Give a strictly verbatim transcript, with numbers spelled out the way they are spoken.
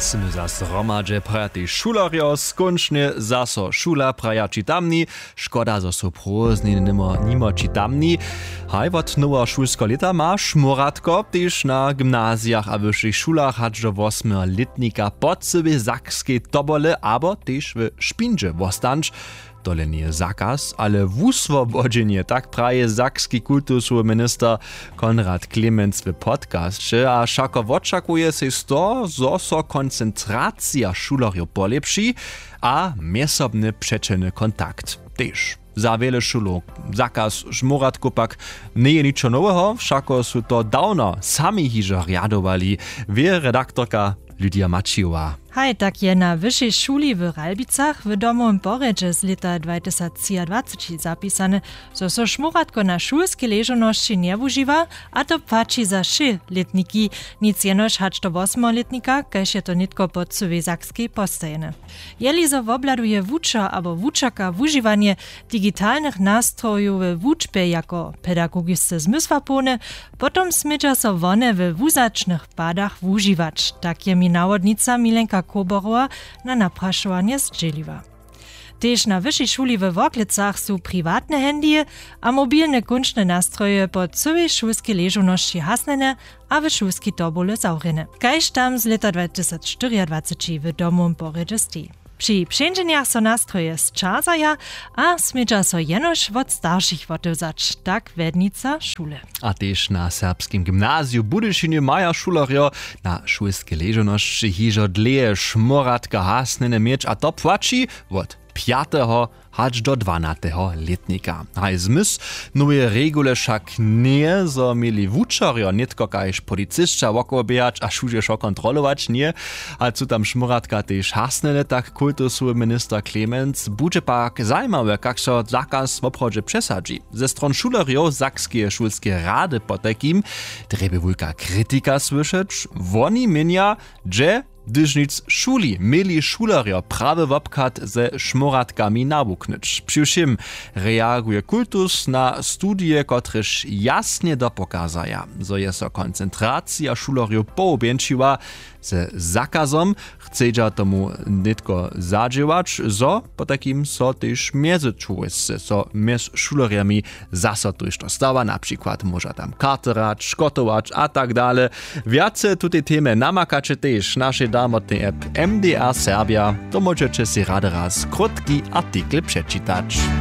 Smy zas hromadźe, praja tež šulerjo. Skónčnje zaso šula, praja čitamni. Škoda, zo su prózdniny nimo, nimo čitamni. Haj, wot noweho šulskeho lěta ma Šmóratko tež na gymnazijach a wyšich šulach hač do wosmeho lětnika po cyłej sakskej tobole abo tež w Špindźe wostanć. Tole njeje zakaz, ale wuswobodźenje, tak praji sakski kultusowy minister Konrad Klemenc w podcasće. A wšako wočakuje sej z toho, zo so koncentracija šulerjow polěpši a mjezsobny přećelny kontakt tež. Za wjele šulow zakaz Šmóratkow pak njeje ničo noweho, wšako su to dawno sami hižo rjadowali, wě redaktorka Lydia Maćijowa. Haj, tak je na wyšej šuli w Ralbicach w domowym porjedźe z lěta dwatysactřiadwaceći zapisane, zo so Šmóratko na šulskej ležownosći njewužiwa, a to płaći za wšě lětniki, nic jenož hač do wosmeho lětnika, kaž je to nětko po cyłej Sakskej postajene. Jeli zo wobhladuje wučer abo wučerka wužiwanje digitalnych nastrojow we wučbje jako pedagogisce zmysłapołne, potom smědźa so wone we wuzačnych padach wužiwać, tak je mi nawodnica Milenka Koborowa na naprašowanje zdźěliła. Tež na wyšej šuli we Worklecach su priwatne handyje a mobilne kónčne nastroje po cyłej šulskej ležownosći hasnjene a w šulskej tobule zawrjene, kaž tam z lěta dwatysactřiadwaceći w domowym porjedźe steji. Při přeńdźenjach so nastroje sćazaja a smědźa so jenož wot staršich wotewzać, tak wjednica šule. A tež na Serbskim gymnaziju w Budyšinje maja šulerjo na šulskej ležownosći hižo dlěje Šmóratka hasnjene měć, a to płaći wot pjateho hač do dwanateho lětnika. Haj, zmysł noweje regule wšak njeje, zo měli wučerjo nětko kaž policisća wokoło běhać a wšudźe wšo kontrolować, ně. A su tam Šmóratka tež hasnjene, tak kultusowy minister Klemenc. Budźe pak zajimawe, kak so zakaz woprawdźe přesadźi. Ze stron šulerjow Sakskeje šulskeje rady potajkim drje bě wulka kritika słyšeć. Woni měnja, dźe hdyž nic šuli, měli šulerjo prawy wobchad ze Šmóratkami nawuknyć. Přiwšěm reaguje kultus na studije, kotrež jasnje dopokazaja, zo je so koncentracija šulerjow połubjeńšiła ze zakazom. Chcedźa tomu nětko zadźěłać, zo potajkim so tež mjezčłowjesce so mjez šulerjemi zaso tójšto stawa, na přikład móža tam karty hrać, škotować a tak dale. Wjace tutej temje namakaće tež w našej damotnej app M D R Serbja. To móžeće sej rady raz krótki artikel přečitać.